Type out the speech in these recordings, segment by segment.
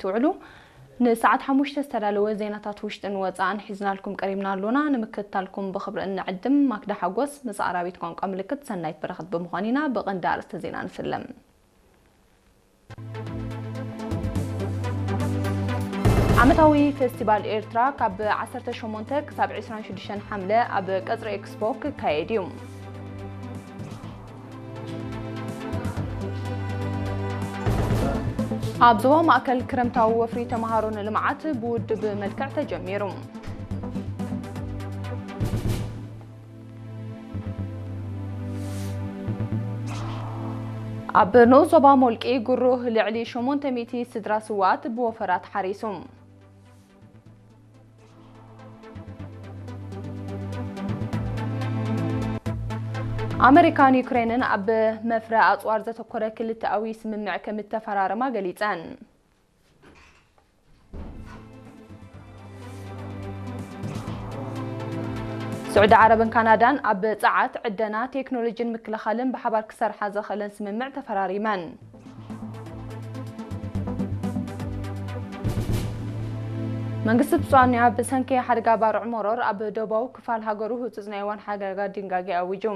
ትውዕሉ። ንሰዓት ሓሙሽተ ዝተዳለወ ዜናታት ውሽጥን ወጻእን ሒዝናልኩም ቀሪብና ኣሎና። ንምክትታልኩም ብኽብሪ እንዕድም። ማክዳ ሓጎስ ምስ ኣራቢት ቋንቋ ምልክት፣ ሰናይት በረኸት ብምዃን ኢና። ብቐንዲ ኣርእስተ ዜና ንስለም። ዓመታዊ ፌስቲቫል ኤርትራ ካብ ዓሰርተ ሸሞንተ ክሳብ ዕስራን ሽዱሽተን ሓምለ ኣብ ቀጽሪ ኤክስፖ ክካየድ እዩ። ኣብ ዞባ ማእከል ክረምታዊ ወፍሪ ተምሃሮ ንልምዓት ብውድብ መልክዕ ተጀሚሩ። ኣብ ንኡስ ዞባ ሞልቂ ጉሩህ ልዕሊ ሸሞንተ ሚእቲ ስድራ ስውኣት ብወፈራ ተሓሪሱ። ኣመሪካን ዩክሬንን ኣብ መፍረ ኣጽዋር ዘተኮረ ክልተኣዊ ስምምዕ ከም እተፈራረማ ገሊጸን። ስዑዲ ዓረብን ካናዳን ኣብ ጸዓት፣ ዕደና፣ ቴክኖሎጂን ምክልኻልን ብሓባር ክሰርሓ ዘኽእለን ስምምዕ ተፈራሪመን። መንግስቲ ብሪጣንያ ብሰንኪ ሓደጋ ባርዕ መሮር ኣብ ደቡባዊ ክፋል ሃገሩ ህጹጽ ናይ እዋን ሓደጋ ድንጋጌ ኣዊጁ።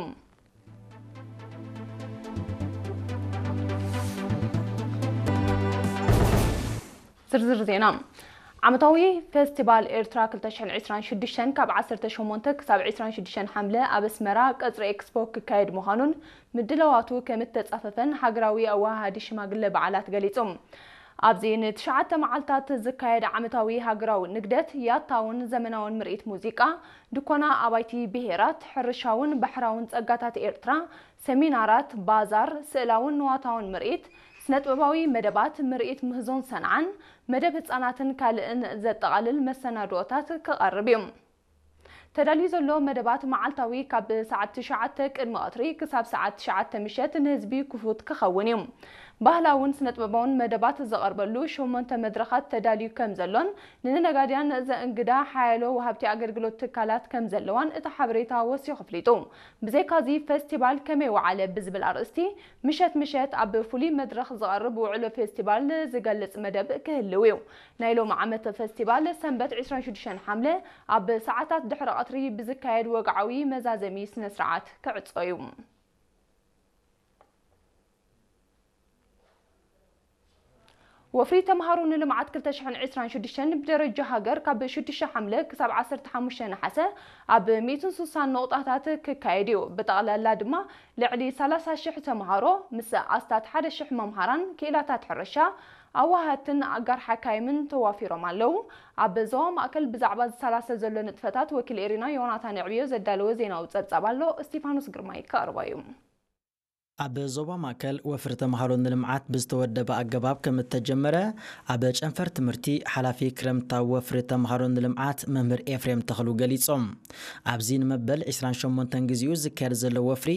ዝርዝር ዜና። ዓመታዊ ፌስቲቫል ኤርትራ ክልተ ሽሕን ዕስራን ሽዱሽተን ካብ ዓሰርተ ሸሞንተ ክሳብ ዕስራን ሽዱሽተን ሓምለ ኣብ ኣስመራ ቀጽሪ ኤክስፖ ክካየድ ምዃኑን ምድላዋቱ ከም እተጻፈፈን ሃገራዊ ኣወሃሃዲ ሽማግለ በዓላት ገሊጹ። ኣብዚ ንትሽዓተ መዓልታት ዝካየድ ዓመታዊ ሃገራዊ ንግደት፣ ያታውን ዘመናውን ምርኢት ሙዚቃ፣ ድኮና ኣባይቲ ብሄራት፣ ሕርሻውን ባሕራውን ጸጋታት ኤርትራ፣ ሰሚናራት፣ ባዛር፣ ስእላውን ንዋታውን ምርኢት፣ ስነጥበባዊ መደባት፣ ምርኢት ምህዞን ሰንዓን፣ መደብ ህጻናትን ካልእን ዘጠቓልል መሰናድኦታት ክቐርብ እዩ። ተዳልዩ ዘሎ መደባት መዓልታዊ ካብ ሰዓት ትሽዓተ ቅድሚ ቀትሪ ክሳብ ሰዓት ትሽዓተ ምሸት ንህዝቢ ክፉት ክኸውን እዩ። ባህላውን ስነጥበባውን መደባት ዝቐርበሉ ሸሞንተ መድረኻት ተዳልዩ ከም ዘሎን፣ ንነጋድያን ዘእንግዳ ሓያሎ ወሃብቲ ኣገልግሎት ትካላት ከም ዘለዋን እቲ ሓበሬታ ወሲኹ ኣፍሊጡ። ብዘይካዚ፣ ፌስቲቫል ከመይ ወዓለ ብዝብል ኣርእስቲ፣ ምሸት ምሸት ኣብ ፍሉይ መድረኽ ዝቐርብ ውዕሎ ፌስቲቫል ዝገልጽ መደብ ክህልው እዩ። ናይ ሎሚ ዓመት ፌስቲቫል ሰንበት ዕስራን ሽዱሽተን ሓምለ ኣብ ሰዓታት ድሕሪ ቀትሪ ብዝካየድ ወግዓዊ መዛዘሚ ስነ ስርዓት ክዕጾ እዩ። ወፍሪ ተምሃሮ ንልምዓት ክልተ ሽሕን ዕስራን ሽዱሽተን ብደረጃ ሃገር ካብ ሽዱሽተ ሓምለ ክሳብ ዓሰርተ ሓሙሽተ ነሓሰ ኣብ ሚእትን ስሳን ነቑጣታት ክካየድ እዩ። ብጠቕላላ ድማ ልዕሊ ሰላሳ ሽሕ ተምሃሮ ምስ ኣስታት ሓደ ሽሕ መምሃራን፣ ክኢላታት ሕርሻ፣ ኣዋሃድትን ኣጋር ሓካይምን ተዋፊሮም ኣለዉ። ኣብ ዞባ ማእከል ብዛዕባ ዝሰላሰል ዘሎ ንጥፈታት ወኪል ኤሪና ዮናታን ዕብዮ ዘዳለወ ዜናዊ ጸብጻብ ኣሎ። እስቲፋኖስ ግርማይ ከቕርቦ እዩ። ኣብ ዞባ ማእከል ወፍሪ ተምሃሮ ንልምዓት ብዝተወደበ ኣገባብ ከም እተጀመረ ኣብ ጨንፈር ትምህርቲ ሓላፊ ክረምታዊ ወፍሪ ተምሃሮ ንልምዓት መምህር ኤፍሬም ተኽሉ ገሊጾም። ኣብዚ ንመበል ዕስራን ሸሞንተን ግዜኡ ዝካየድ ዘሎ ወፍሪ፣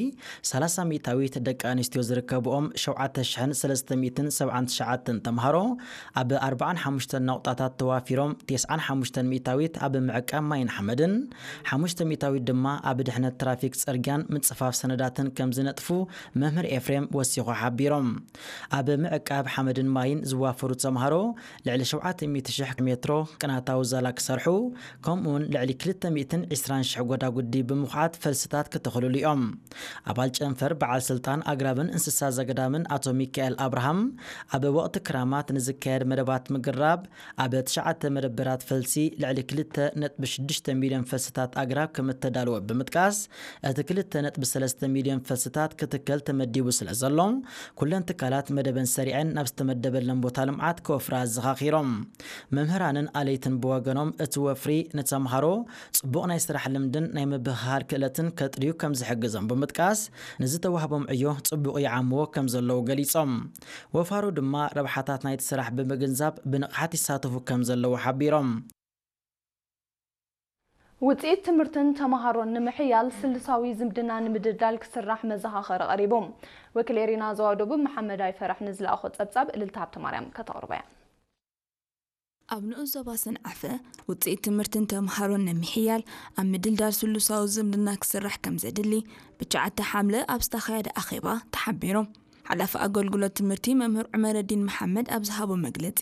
ሰላሳ ሚእታዊት ደቂ ኣንስትዮ ዝርከብኦም ሸውዓተ ሽሕን ሰለስተ ሚእትን ሰብዓን ትሽዓተን ተምሃሮ ኣብ ኣርብዓን ሓሙሽተን ነቑጣታት ተዋፊሮም፣ ተስዓን ሓሙሽተን ሚእታዊት ኣብ ምዕቃብ ማይን ሓመድን፣ ሓሙሽተ ሚእታዊት ድማ ኣብ ድሕነት ትራፊክ፣ ጽርግያን ምጽፋፍ ሰነዳትን ከም ዝነጥፉ መምህር ኤፍሬም ወሲኹ ሓቢሮም። ኣብ ምዕቃብ ሓመድን ማይን ዝዋፈሩ ተምሃሮ ልዕሊ ሸውዓተ ሚእቲ ሽሕ ሜትሮ ቅናታዊ ዛላ ክሰርሑ፣ ከምኡውን ልዕሊ ክልተ ሚእትን ዕስራን ሽሕ ጎዳጉዲ ብምኹዓት ፈልስታት ክተኽልሉ እዮም። ኣባል ጨንፈር በዓል ስልጣን ኣግራብን እንስሳ ዘገዳምን ኣቶ ሚካኤል ኣብርሃም፣ ኣብ ወቕቲ ክራማት ንዝካየድ መደባት ምግራብ ኣብ ትሽዓተ መደበራት ፈልሲ ልዕሊ ክልተ ነጥቢ ሽዱሽተ ሚልዮን ፈልስታት ኣግራብ ከም እተዳለወ ብምጥቃስ፣ እቲ ክልተ ነጥቢ ሰለስተ ሚልዮን ፈልስታት ክትከል ተመዲቡ ስለ ዘሎ፣ ኩለን ትካላት መደበን ሰሪዐን ናብ ዝተመደበለን ቦታ ልምዓት ክወፍራ ኣዘኻኺሮም። መምህራንን ኣለይትን ብወገኖም፣ እቲ ወፍሪ ንተምሃሮ ጽቡቕ ናይ ስራሕ ልምድን ናይ ምብህሃል ክእለትን ከጥርዩ ከም ዝሕግዞም ብምጥቃስ፣ ንዝተዋህቦም ዕዮ ጽቡቕ ይዓምዎ ከም ዘለዉ ገሊጾም። ወፋሩ ድማ ረብሓታት ናይቲ ስራሕ ብምግንዛብ ብንቕሓት ይሳተፉ ከም ዘለዉ ሓቢሮም። ውጽኢት ትምህርትን ተምሃሮን ንምሕያል ስልሳዊ ዝምድና ንምድልዳል ክስራሕ መዘኻኸሪ ቀሪቡ። ወኪል ኤሪና ዞባ ደቡብ መሓመድ ኣይፈራሕ ንዝለኣኾ ጸብጻብ እልልታ ሃብተማርያም ከተቕርቦ እያ። ኣብ ንኡስ ዞባ ሰንዓፈ ውጽኢት ትምህርትን ተምሃሮን ንምሕያል ኣብ ምድልዳል ስሉሳዊ ዝምድና ክስራሕ ከም ዘድሊ ብትሽዓተ ሓምለ ኣብ ዝተኻየደ ኣኼባ ተሓቢሩ። ሓላፊ ኣገልግሎት ትምህርቲ መምህር ዑመረዲን መሓመድ ኣብ ዝሃቦ መግለጺ፣